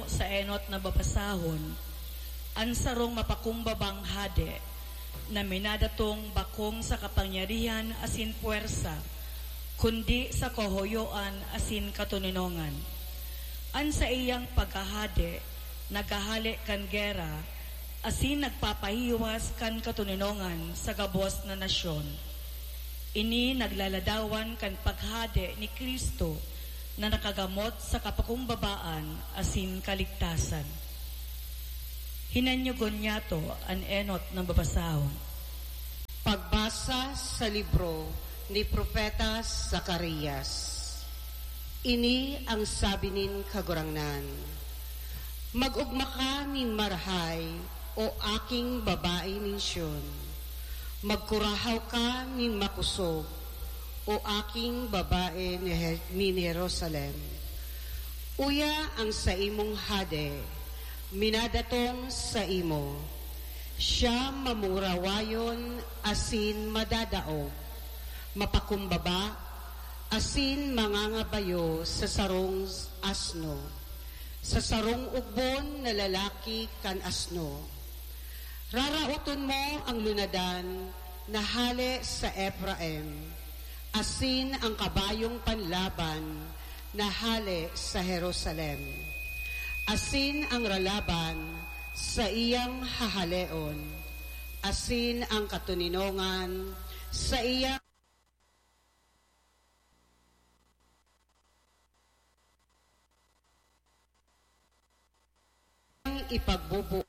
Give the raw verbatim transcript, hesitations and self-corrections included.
Sa enot na babasahon, an sarong mapakumbabang hade na minadatong bakong sa kapangyarihan asin puwersa, kundi sa kahoyoan asin katoninongan. An saiyang paghahade naghahale kan gera asin nagpapahiwas kan katoninongan sa gabos na nasyon. Ini naglaladawan kan paghade ni Cristo na nakagamot sa kapakumbabaan asin kaligtasan. Hinanyogon niyato an enot na babasahon. Pagbasa sa libro ni Propeta Zacarias. Ini ang sabi nin Kagurangnan, "Mag-ogma ka nin marahay, o aking babae nin Sion. Magkurahaw ka nin makosog, o aking babae ni He-, nin Jerusalem. Uya ang saimong hade, minadatong saimo. Siya mamurawayon asin madadaog, mapakumbaba, asin mangangabayo sa sarong asno, sa sarong ugbon na lalaki kan asno. Raraoton mo ang lunadan na hale sa Efraim, asin ang kabayong panlaban na hale sa Jerusalem, asin ang ralaban sa iyang hahaleon, asin ang katoninongan sa iyang ipagbubuo.